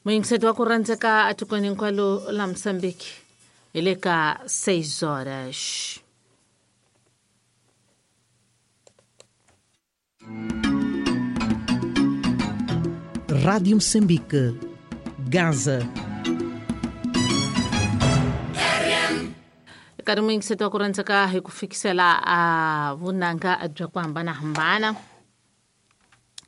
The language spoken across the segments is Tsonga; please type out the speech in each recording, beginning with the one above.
Muyingiseti wa ku rhandzeka etikweni hinkwalo la Mozambique hi le ka 6 horas. Rádio Moçambique, Gaza. Nkarhi muyingiseti wa ku rhandzeka hi ku fikisela a vunanga bya ku hambanahambana,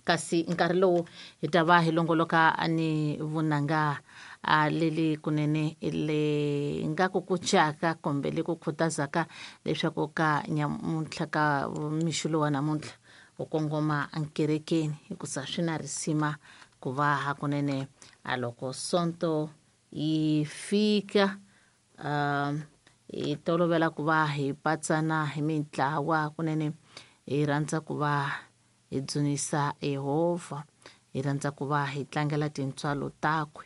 kasi nkarhi lowu hi ta va hi longoloka ni vunanga a leli kunene le nga ku kucaka kumbe le ku khutazaka leswaku ka nyamuntlha ka mixo lowa namuntlha u kongoma enkerekeni, hikusa swi na risima ku va hakunene a loko sonto yi fika hi tolovela ku va hi patsana hi mintlawa kunene hi rhandza ku va hi dzunisa Yehovha, hi rhandza ku va hi tlangela tintswalo takwe,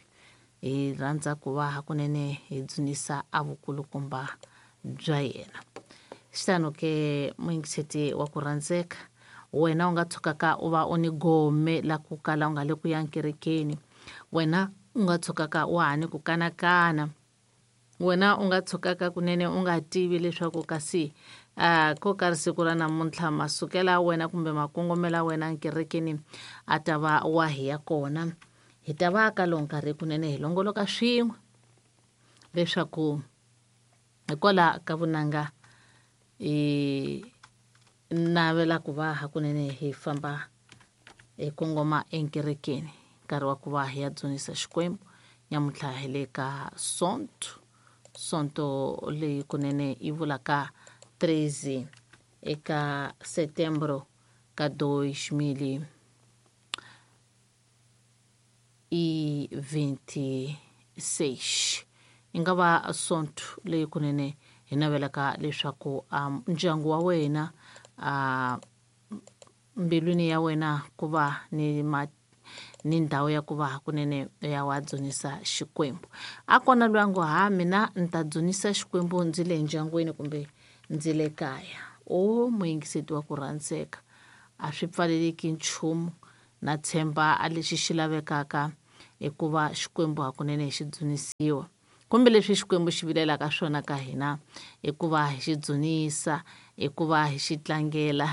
hi rhandza ku va hakunene hi dzunisa a vukulukumba bya yena. Xitano ke muyingiseti wa ku rhandzeka, wena u nga tshukaka u va u ni gome la ku kala u nga le ku ya nkerekeni, wena u nga tshukaka u ha ni ku kanakana, wena u nga tshukaka kunene u nga tivi leswaku kasi ko ka siku ra namuntlha masukela wena kumbe makongomela wena nkerekeni a ta va wa hi ya kona. Hi ta va ka lowu nkarhi kunene hi longoloka swin'we leswaku hikwalaho ka vunanga hi navela ku va hakunene hi famba hi kongoma enkerekeni, nkarhi wa ku va hi ya dzunisa Xikwembu. Nyamuntlha hi le ka sonto, sonto leyi kunene yi vulaka 13 eka setembro ka 2026. Yi nga va sonto leyi kunene hi navelaka leswaku ndyangu wa wena mbilwini ya wena ku va ni ni ndhawu ya ku va hakunene ya wa dzunisa Xikwembu. A kona loyi a ngo ha mina ni ta dzunisa Xikwembu ndzi le ndyangwini kumbe ndzi le kaya. O muyingiseti wa ku rhandzeka, a swi pfaleleki nchumu, na tshemba a lexi xi lavekaka i ku va Xikwembu hakunene xi dzunisiwa, kumbe leswi Xikwembu xi vilelaka swona ka hina i ku va hi xi dzunisa, i ku va hi xi tlangela,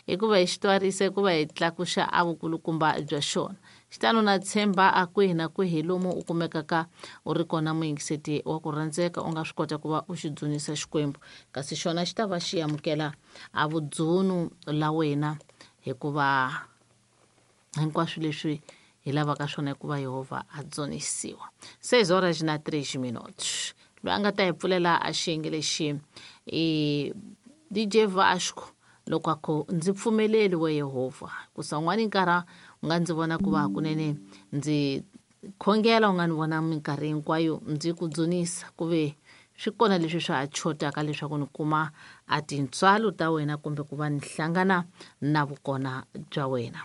i ku va hi xi twarisa, i ku va hi tlakuxa a vukulukumba bya xona. Xitano na tshemba a kwihi na kwihi lomu u kumekaka u ri kona muyingiseti wa ku rhandzeka, u nga swi kota ku va u xi dzunisa Xikwembu, kasi xona xi ta va xi amukela a vudzunu la wena, hikuva hinkwaswo leswi hi lavaka swona i ku va Yehovha a dzunisiwa. 6 horas na 3 minutos. Loyi a nga ta hi pfulela a xiyenge lexi i DJ Vasco, loko a ku ndzi pfumeleli we Yehovha, ku sa un'wana nkarhi u nga ndzi vona ku va hakunene ndzi khongela, u nga ni vona minkarhi hinkwayo ndzi ku dzunisa, ku ve swi kona leswi swa ha chotaka leswaku ni kuma a tintswalo ta wena kumbe ku va ni hlangana na vukona bya wena.